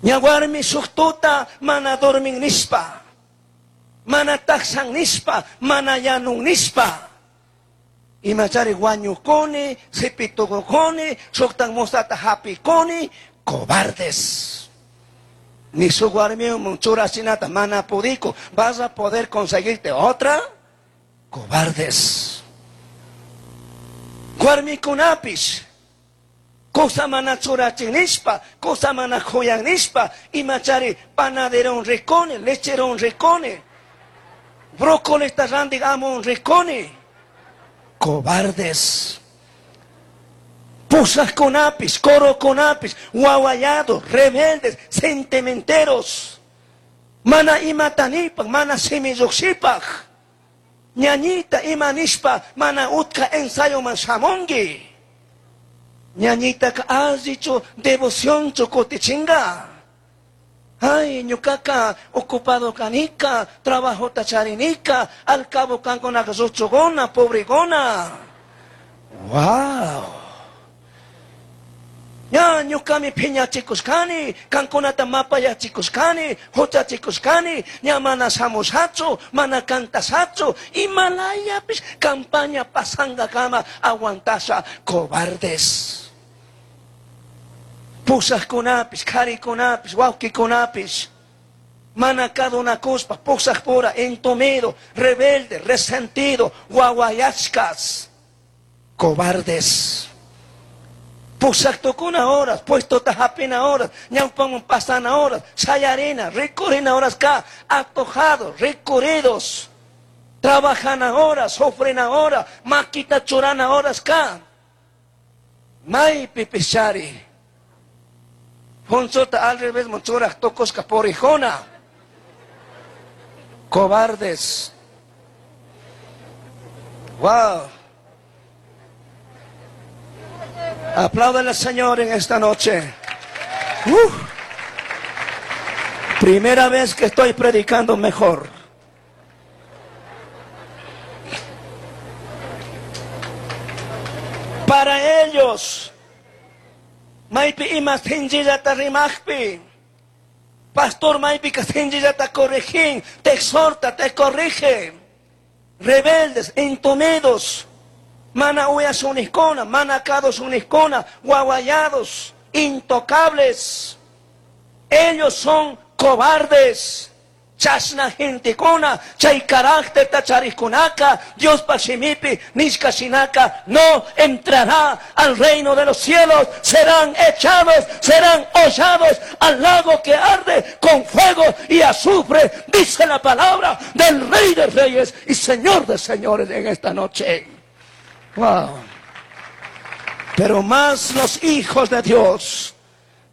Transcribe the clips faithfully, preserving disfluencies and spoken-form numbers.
Ña warmi shuk tuta mana dormin nishpa. Mana takshan nishpa, mana yanun nishpa. Imachari wañukuni, sipitukukuni, shuktan musata hapikuni, cobardes. Ni su warmiwan churachinata mana pudiko. ¿Vas a poder conseguirte otra? Cobardes. Warmikunapish. Kusa mana churachin nishpa, kusa mana kuyan nishpa, imachari panaderon rikuni, lecheron rikuni, brócoli randik amun rikuni. Cobardes. Pushajkunapis, corokunapis, wawayados, rebeldes, sentimenteros. Mana imatanipak, mana simillukshipak. Ñañita ima nishpa, mana utka ensayo man shamunki. Ñañitaka allichu devocionchu kutichinga. Ay, ñukaka ocupado kanika, trabajota charinika, al cabo kankunaka lluchuguna, pobreguna. Wow. Ña ñukami phiñachikushkani, kankunata mapayachikushkani, huchachikushkani, ña mana shamushachu, mana cantashachu, imalayapish campaña pasangakama aguantasha cobardes. Pushajkunapish, karikunapish, wawkikunapish, mana kadunakushpa, pushajpura, entumido, rebelde, resentido, wawayashkas, cobardes. Pushaktukuna horas, puestota hapina horas, ñawpaman pasana horas, shayarina, rikurina horas ka, atojados, recurridos, trabajana horas, sufrina horas, maquita churana horas ka. Maypi pishari. Punchuta al revés churaj tukushka purijuna. Cobardes. Wow. Apláudale al Señor en esta noche. Uh. Primera vez que estoy predicando mejor. Para ellos, maypi ima sinchillata rimajpi, pastor maypi ka sinchillata corregin, te exhorta, te corrige. Rebeldes, entumidos, mana uyasunikuna, mana kadusunikuna, wawayados, intocables. Ellos son cobardes. Chashna gentekuna, chay carácter tacharikunaka, Dios pashimipi, nishka shinaka, no entrará al reino de los cielos, serán echados, serán hollados al lago que arde con fuego y azufre, dice la palabra del Rey de Reyes y Señor de Señores en esta noche. Wow. Pero más los hijos de Dios,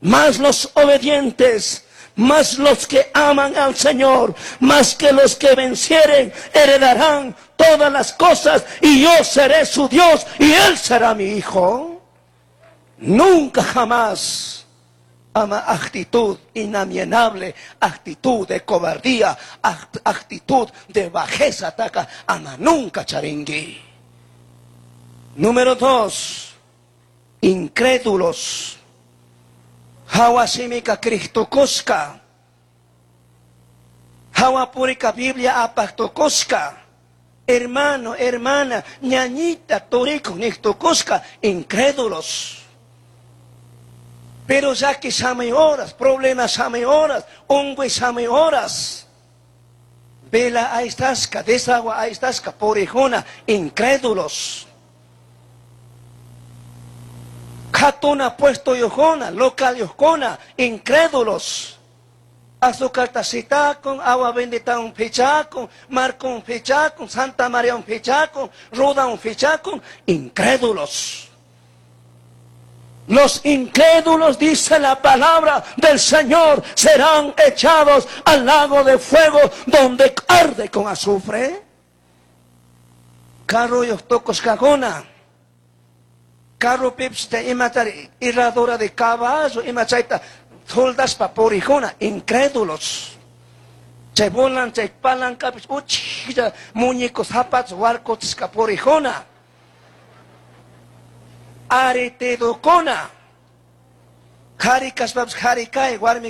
más los obedientes, más los que aman al Señor, más que los que vencieren, heredarán todas las cosas, y yo seré su Dios y él será mi hijo. Nunca jamás ama actitud inalienable, actitud de cobardía, act-, actitud de bajeza, ataca, ama nunca charingui. Número dos, incrédulos. Hawa simika Cristo koska. Hawa purika Biblia apaktukuska. Hermano, hermana, ñañita, turico, nictukuska, incrédulos. Pero ya que same horas, problemas same horas, ungüe same horas. Vela ahí estasca, desagua ahí estasca, porijona, incrédulos. Jatuna puesto yojona, local yojona, incrédulos. Azúcar tacita con, agua bendita un fichaco, Marco un fichaco, Santa María un fichaco, Ruda un fichaco, incrédulos. Los incrédulos, dice la palabra del Señor, serán echados al lago de fuego donde arde con azufre. Carro y tocos cagona. Carro pips te imatari, irradura de caballo, imachaita, soldas pa porijona, incrédulos. Che volan, che palanca, uchilla, muñecos, zapatos, huarcos, porijona. Aretedocona. Jari kaspaps, jari kai, warmi